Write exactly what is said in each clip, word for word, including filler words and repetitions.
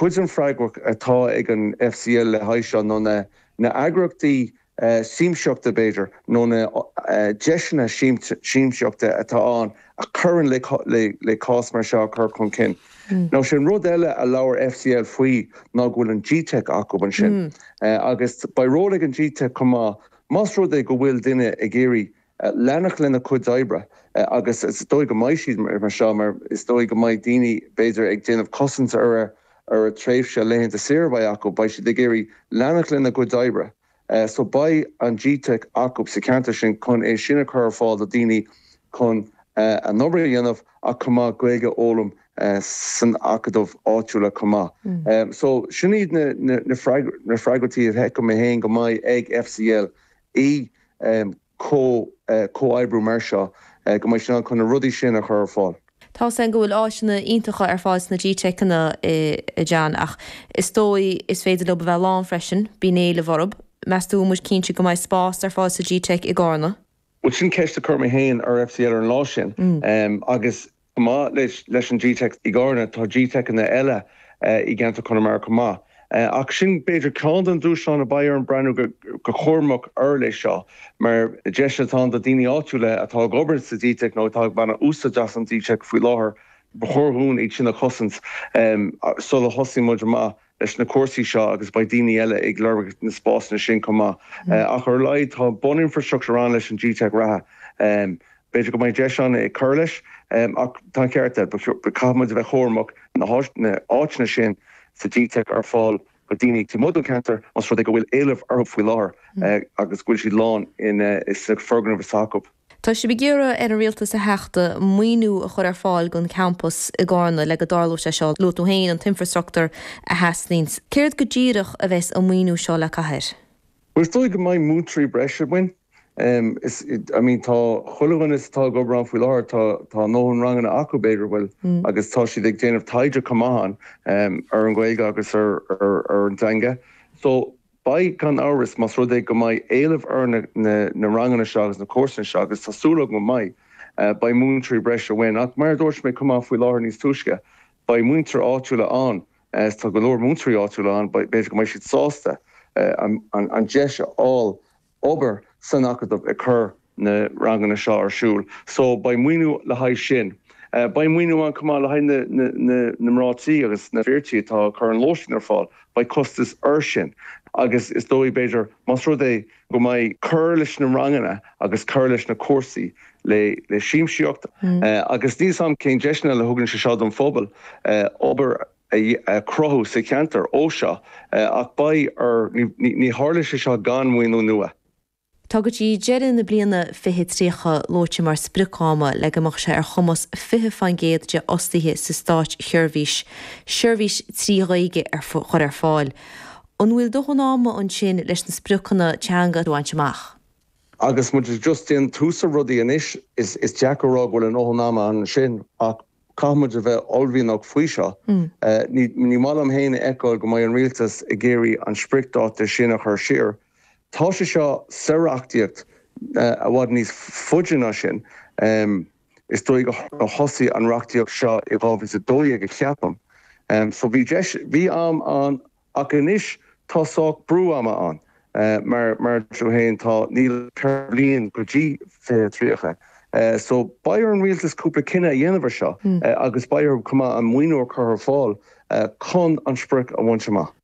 Cuid den freagracht atá ag an F C L le haghaidh seo nó na na heagraíochtaí uh, siamsaíochta b'fhéidir nó na uh, deiseanna siamsaíochta atá ann a chuireann le, le, le cás mar seo chur chun cinn. Mm. Nó sin rud eile a labhair F C L faoi ná go bhfuil an G-Teic acu ansin. Mm. Uh, agus beidh ról ag an G-Teic chomh maith más rud é go bhfuil duine ag iarraidh uh, leanacht lena cuid oibre uh, agus is dóigh go mbeidh siad mar seo mar is dóigh go mbeidh daoine b'fhéidir ag déanamh cosaint ar ar a tréimhse laethanta saoire beidh acu beidh siad ag iarraidh leanacht lena gcuid oibre. Uh, so beidh an G-Teic acu sa cheantar sin chun é sin a chur ar fáil do daoine chun uh, a n-obair a dhéanamh ach chomh maith Gaeilge a fhoghlaim uh, san acadamh áitiúla chomh maith. Mm. Um, so sin iad na, na, na, na freagrachtaí a fheicim mé féin go mbeidh ag F C L í um, comhoibriú mar seo uh, go mbeidh sin chun na rudaí sin a chur ar fáil. Tá san go bhfuil áiseanna iontacha ar fáil sna G-Teiceanna a John ach is dóigh is féidir leo bheith lán freisin bíonn éileamh orthu. Meas tú muid cinnte go mbeidh spás ar fáil sa G-Teic i gCarna? Well sin ceist a chuir mé féin ar F C L ar an lá sin mm. um, agus má leis, leis an G-Teic i gCarna tá G-Teiceanna eile uh, i gceantar Chonamara chomh maith. Uh, ach sin b'fhéidir ceann den dúshlán a beidh orainn breathnú go, go cúramach air leis seo, mar deis atá do daoine áitiúla atá ag obair sa G-Teic nó atá ag baint úsáid as an G-Teic faoi láthair ba chóir dúinn iad sin a chosaint um, sula thosaíonn muid amach leis na cúrsaí seo agus beidh daoine eile ag lorg na spásanna sin chomh maith. Mm. Uh, ach ar leid tá buninfrastruchtúr ann leis an G-Teic reatha. Um, B'fhéidir go mbeidh deis ann ag cur leis um, ach tá ceart caithfimid a bheith cúramach na áiteanna sin sa G-Teic ar fáil go daoine taobh amuigh den cheantar más rud é go bhfuil éileamh orthu faoi láthair mm. uh, agus go bhfuil siad lán in uh, is foirgneamh s'acu. Tá sibh ag iarraidh ar an rialtas a Theachta maoiniú a chur ar fáil don campus i gCarna le go dtarlóidh sé seo luaigh tú féin an t-infrastruchtúr a theastaíonn. Céard go díreach a bheas an maoiniú seo le caitheamh? Well dóigh go mbeidh múinteoirí breise ann. Um, is, I mean tá chuile dhuine atá ag obair faoi láthair tá tá nóhan ranganna acu b'fhéidir bhfuil mm. agus tá siad ag déanamh taighde chomh maith um, ar an Ghaeilge agus ar, ar, ar an teanga. So beidh gan amhras más rud é go mbeidh éileamh ar na, na, na ranganna seo agus na cúrsaí seo agus tá súil go mbeidh uh, beidh múinteoirí breise ann ach mar dúirt mé chomh maith faoi láthair níos túisce beidh muintir áitiúla ann uh, tá go leor múinteoirí áitiúla ann b'fhéidir go mbeidh siad sásta uh, an, an, an deis a fháil obair san acadamh ag cur na ranganna seo ar siúl. So beidh maoiniú le haghaidh sin. Uh, beidh maoiniú ann chomh maith le haghaidh na, na, na, na mná tí agus na fir tí atá ag cur an lóistín ar fáil, beidh costas air sin. Agus is dóigh b'fhéidir más rud é go mbeidh cur leis na ranganna agus cur leis na cúrsaí le le siamsaíocht mm. uh, agus ní sam cén deiseanna a thugann sé seo don phobal uh, obair a chruthú sa cheantar ó seo uh, ach beidh ar ní, ní tharla sé seo gan mhaoiniú nua. Tá go dtí deireadh na bliana fiche tríocha luaite mar sprioc-ama le go mbeadh sé ar chumas fiche faoin gcéad de fhostaithe sa státseirbhís, seirbhís trí Ghaeilge ar chur ar fáil. An bhfuil dóthain ama ansin leis na spriocanna teanga a bhaint amach. Agus muid just ag tús rudaí anois is, is deacair a rá go bhfuil an dóthain ama ansin ach caithfimid a bheith ullmhaithe faoi seo. Mm. Uh, ní, ní maith liom féin a fheiceáil go mbeidh an rialtas ag iarraidh an spriocdháta sin a chur siar. Tá sé seo sa reachtaíocht uh, i bhfad níos faide ná sin. Um, is dóigh go thosaigh an reachtaíocht seo i dhá mhíle a dó dhéag a cheapaim. Um, so bhí bhí am ann ach anois tá sách brú ama ann. Uh, mar mar féin tá níl bliain go dtí fiche tríocha. Uh, so beidh ar an rialtas cúpla cinneadh a dhéanamh seo mm. uh, agus beidh chomh maith an maoiniú a chur ar fáil uh, chun an sprioc a bhaint amach.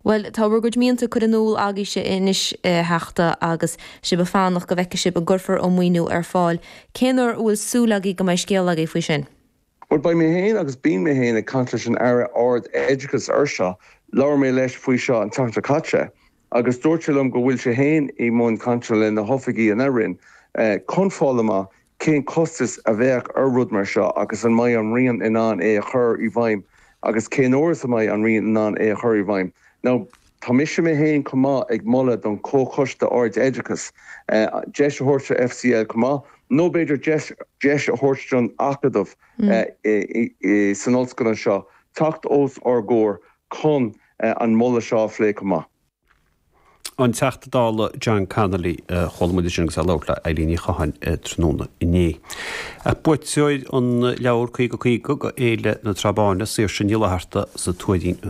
Well tá bhur gcuid mianta curtha in iúl agaibhse anois a Theachta agus sibh ag fanacht go bhfeicfidh sibh an gcuirfear an maoiniú ar fáil. Cén uair a bhfuil súil agaibh go mbeidh scéal agaibh faoi sin? Well beidh mé féin agus bíonn mé féin ag caint leis an Aire Ard-Oideachais ar seo, labhair mé leis faoi seo an tseachtain caite, agus dúirt sé liom go bhfuil sé féin i mbun cainte le na hoifigigh ina roinn eh, chun fáil amach cén costas a bheadh ar rud mar seo agus an mbeidh an Roinn in ann é a chur i bhfeidhm agus cén uair a mbeidh an Roinn in ann é a chur i bhfeidhm. Now, tá mise mé féin chomh maith ag moladh don Chomhchoiste Ard-Oideachais uh, deis a thabhairt F C L chomh maith, nó b'fhéidir deis a thabhairt don acadamh mm. uh, san ollscoil anseo, teacht os ár gcomhair chun uh, an moladh seo a phlé chomh maith. An Teachta Dála John Connolly chuala muid sin agus é ag labhairt le Eileen Ní Chatháin tráthnóna inné. Buaiteoir an leabhar caoga caoga go Fhéile na Trá Báine Saoirse Ní Fhlatharta sa Tuairín.